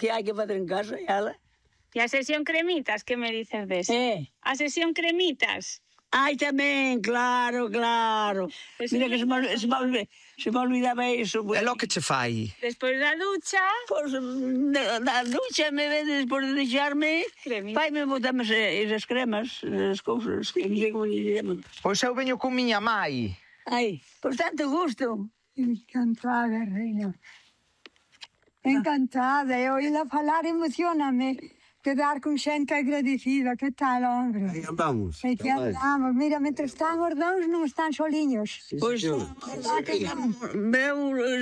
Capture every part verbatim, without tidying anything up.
que hai que facer en casa, e ala. E a sesión cremitas, que me dices deso? Eh. A sesión cremitas. Ai, tamén, claro, claro. Pues Mira sí, que se me, se me, olvi- se me olvidaba iso. É lo que che fai? Despois da ducha... Pois, na, na ducha, me ve despois de deixarme, Cremita. pai me botame esas cremas, as cousas, que non sei como lle chaman. Pois eu veño con miña mai. Ai, por tanto gusto. Encantada, reina. Encantada. E oíla falar emocioname. Quedar con xente agradecida. Que tal, hombre? Aí andamos. E que andamos. Mira, mentres están os dous, non están soliños. Pois, veu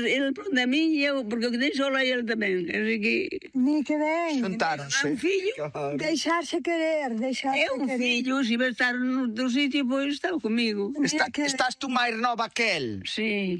ele pronto a mí e eu, porque eu quedei sola e ele tamén. Así que... Ni que ben. É Xuntáronse. un fillo. Deixarse querer, deixarse É un querer. fillo, se vai estar no outro sitio, pois está comigo. Está, Mira que- estás tú máis nova que el? Sí.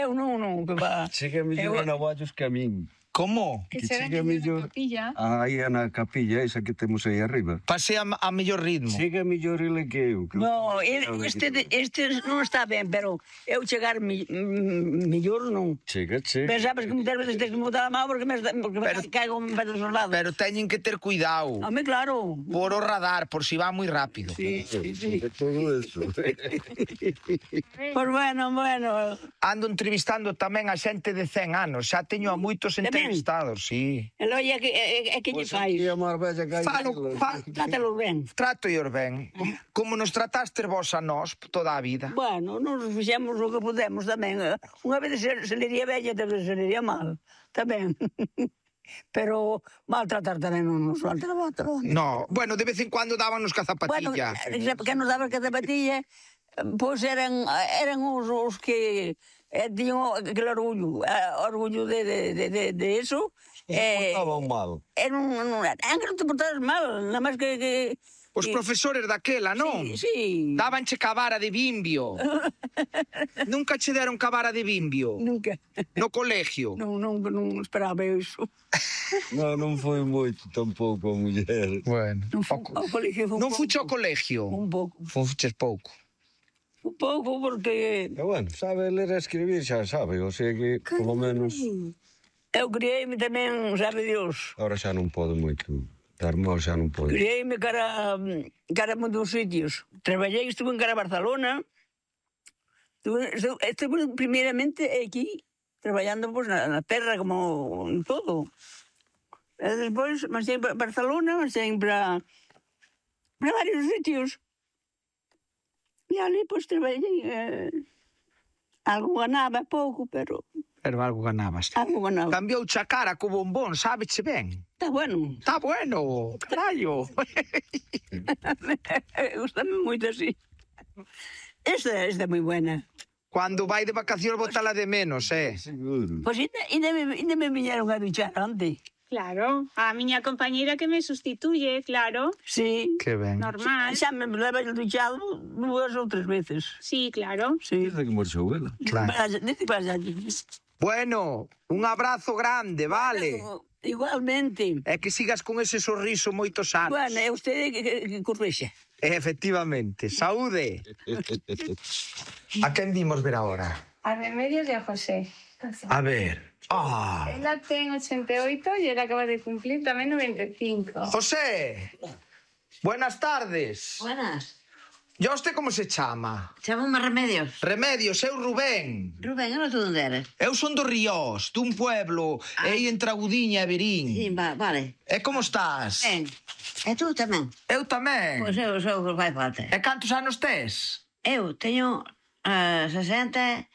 Eu non, non, que va. Chega mellor a navallos que a min. Como? Que Que será chega que mellor. capilla. Aí na capilla esa que temos aí arriba. Pasei a, a mellor ritmo. Chega mellor ele que eu. que eu- No, ele, Sabe este, que- este non está ben, pero eu chegar mi, mm, mellor non. Chega, chega. Pensabas que muitas veces tens que mudar a mão porque me, porque Pero- me caigo en pedos os lados. Pero teñen que ter cuidado. Home, claro. Por o radar, por si va moi rápido. Sí, sí, sí. De todo eso. Pois bueno, bueno. Ando entrevistando tamén a xente de cen anos. Xa teño a moitos Tamén? entrevistados, sí. El oye, que, é, é que lle Pois fai. aquí a Marbella que hai Falo, elas. fa, Trátalo ben. trato eu ben. Como, como nos trataste vos a nós toda a vida. Bueno, nos fixemos o que podemos tamén. Unha vez se, se lería bella, outra vez se lería mal. Tamén. Pero maltratar tamén non nos maltratar. No, bueno, de vez en cuando dábanos ca Bueno, zapatilla. que nos daba que zapatilla, pois eran, eran os, os que eh, tiñan aquele orgullo, eh, orgullo de, de, de, de, de eso. Eh, Estaban mal. era un, un, era que non te portaras mal, nada máis que... que Os que- profesores daquela, non? Sí, sí. Dabanche cavara de bimbio. Nunca che deron cavara de bimbio. Nunca. No colegio. Non, non, non esperaba iso. Non, non foi moito tampouco a muller. Bueno. Non fu, ao colegio foi un Non pouco. fuche ao colegio. Un pouco. Fuches pouco. Un pouco, porque E bueno, sabe ler e escribir, xa sabe, o sea que, polo menos, eu criei-me tamén, sabe Dios, ahora xa non pode moito. Dar mal xa non pode. criei-me cara, cara a moitos sitios. Traballei, estuve en cara a Barcelona, estuve, estuve, estuve primeiramente aquí, traballando pues, na, na terra, como en todo. E despois, marchei para Barcelona, marchei para, para varios sitios. E ali, pois, traballei. Eh, algo ganaba, pouco, pero Pero algo ganabas. algo ganaba. Cambiou a cara co bombón, sábeche ben. Está bueno. Está bueno, carallo. Gústame moito así. Esta, esta é moi buena. Cando vai de vacacións botala de menos, eh. Seguro. Pois ainda, ainda, me, ainda me viñeron a duchar onte. Claro, a miña compañeira que me sustituye, claro, Sí. Que ben. normal. Xa me leva duchado dúas ou tres veces. Sí, claro. Sí. Desde que marchou ela. Claro. Dice que vaya. Bueno, un abrazo grande, vale. Igualmente. É que sigas con ese sorriso moitos anos. Bueno, é usted que, que, que correxa. Efectivamente. Saúde. A quen dimos ver agora? A Remedios e a José. A ver. Ah. Ela ten ochenta e oito e ela acaba de cumplir tamén noventa e cinco. José. Buenas tardes. Buenas. ¿Y a usted como se chama? Chámame Remedios. Remedios, eu Rubén. Rubén, eu tú onde eres? Eu son do Ríos, dun pueblo, ah. aí entre Agudiña e Verín. Sí, va, vale. E como estás? Ben. E tú tamén? Eu tamén. Pois eu sou o que fai falta. E cantos anos tes? Eu teño uh, sesenta...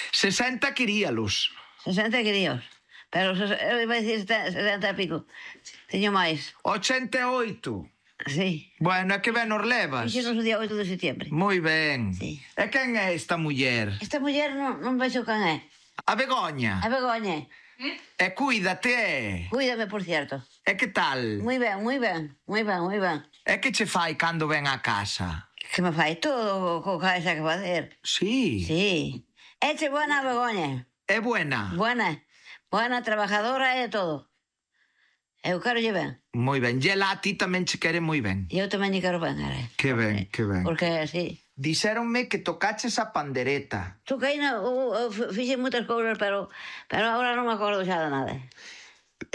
sesenta queríalos. sesenta críos. Pero ses- eu iba a dicir sesenta e pico. Teño máis. ochenta e oito. Sí. Bueno, é que ben nos levas. Fixenos o día oito de setembro. Moi ben. Sí. E quen é esta muller? Esta muller non, non vexo can é. A Begoña. A Begoña. E cuídate, eh. Cuídame, por cierto. E que tal? Moi ben, moi ben, moi ben, moi ben. E que che fai cando ven á casa? Que me fai todo co que xa que facer. Sí. Sí. Eche buena Begoña. É buena. Buena. Buena, trabajadora e todo. Eu quero lle ben. Moi ben. E ela a ti tamén che quere moi ben. E eu tamén lle quero ben, ara. Que ben, que ben. Porque, sí. Dixéronme que tocaches a pandereta. Toquei, no, eu, eu fixe moitas cousas, pero, pero agora non me acordo xa de nada.